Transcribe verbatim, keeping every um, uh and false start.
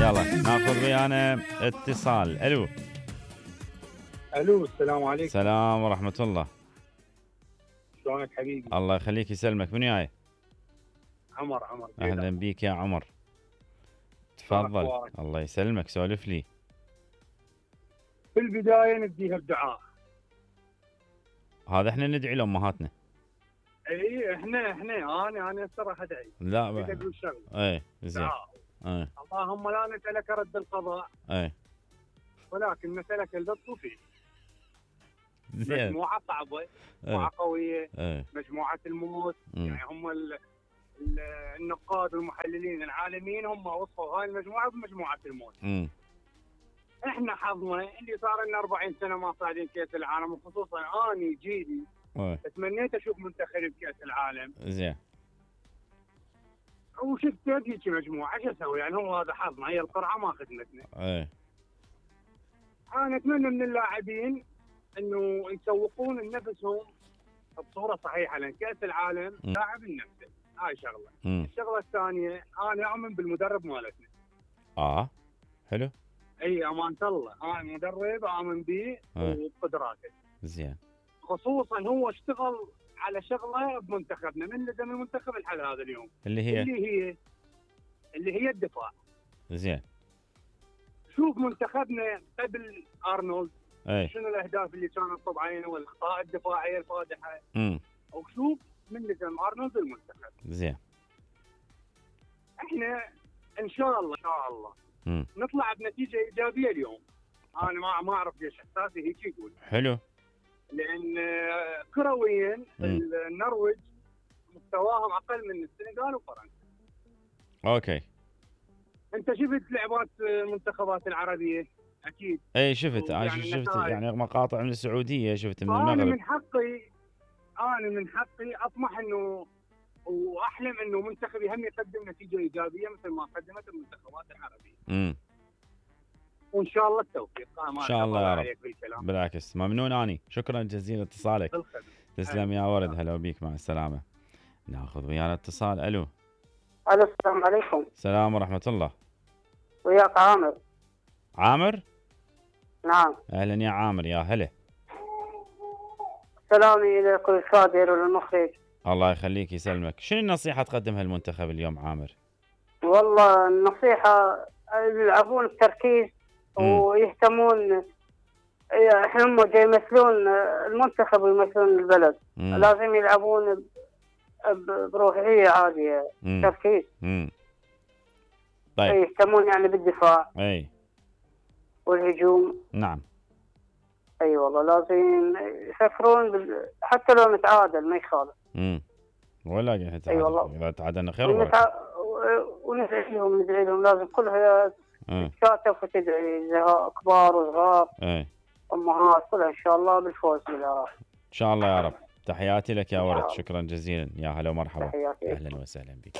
يلا ناخذ ويانا اتصال. الو الو السلام عليكم. السلام ورحمة الله. شلونك حبيبي؟ الله يخليك يسلمك. من وياي؟ عمر. عمر اهلا بيك يا عمر. تفضل. الله يسلمك، سولف لي. في البداية نديها بدعاء. هذا احنا ندعي لامهاتنا. اي احنا احنا انا انا هسه راح ادعي. لا ب... اقول شغله. اي زين. اي اللهم لا نسألك رد القضاء. اي ولكن نسألك اللطف فيه. زين. مجموعة صعبة، مجموعة قوية، اي مجموعة الموت، مم. يعني هم ال... ال... النقاد والمحللين العالميين هم وصفوا هاي المجموعة بمجموعة الموت. امم احنا حظنا اللي صار لنا أربعين سنة ما صاعدين كأس العالم، وخصوصا اني جيلي اي تمنيت اشوف منتخبي بكأس العالم. زين. وشفت هذيك مجموعة، ايش اسوي يعني؟ هو هذا حظنا، هي القرعة ما خدمتنا. اي انا اتمنى من اللاعبين انه يسوقون لنفسهم بصورة صحيحة، لان كأس العالم لاعب النفس، هاي شغلة. مم. الشغلة الثانية انا اؤمن بالمدرب مالتنا. اه حلو. اي امانة الله، انا مدرب اؤمن به وبقدراته. زين. خصوصا هو اشتغل على شغله بمنتخبنا من لزم المنتخب لحد هذا اليوم، اللي هي اللي هي اللي هي الدفاع. زين. شوف منتخبنا قبل ارنولد اي شنو الاهداف اللي كانت طبعا والاخطاء الدفاعيه الفادحه. امم وشوف من لزم ارنولد المنتخب. زين. احنا ان شاء الله ان شاء الله امم نطلع بنتيجه ايجابيه اليوم. انا ما ما اعرف ليش احساسي هيك يقول. حلو. لان كرويا مم. النرويج مستواهم اقل من السنغال وفرنسا. اوكي. انت شفت لعبات المنتخبات العربيه اكيد. اي شفت. انا يعني شفت النتائج. يعني مقاطع من السعوديه، شفت من انا المغرب. من حقي انا من حقي اطمح انه واحلم انه منتخبي هم يقدم نتيجه ايجابيه مثل ما قدمت المنتخبات العربيه. امم وان شاء الله التوفيق. ان شاء الله يا رب. بالعكس ممنون اني، شكرا جزيلا اتصالك. تسلم يا ورد. هلا بيك، مع السلامه. ناخذ ويانا اتصال. الو الو السلام عليكم. السلام ورحمه الله. وياك عامر. عامر؟ نعم. اهلا يا عامر، يا هلا. سلامي اليك وللكادر وللمخرج. الله يخليك يسلمك. شنو النصيحه تقدمها للمنتخب اليوم عامر؟ والله النصيحه يلعبون بتركيز ويهتمون. احنا هم جاي يمثلون المنتخب ويمثلون البلد. مم. لازم يلعبون بروحيه عاليه. مم. تركيز. امم طيب. يهتمون يعني بالدفاع. اي والهجوم. نعم. اي أيوة والله لازم يفكرون بال... حتى لو نتعادل ما يخالف. امم ولا نتعادل. اي أيوة والله. اذا تعادلنا خير وبركه. ونتع... وندعي لهم ندعي لهم لازم كلها تتكاتف وتدعي كبار وصغار. اي امهات كلها ان شاء الله بالفوز بالعراق. ان شاء الله يا رب. تحياتي لك يا ورد، شكرا جزيلا. يا هلا ومرحبا. تحياتي. اهلا وسهلا بك.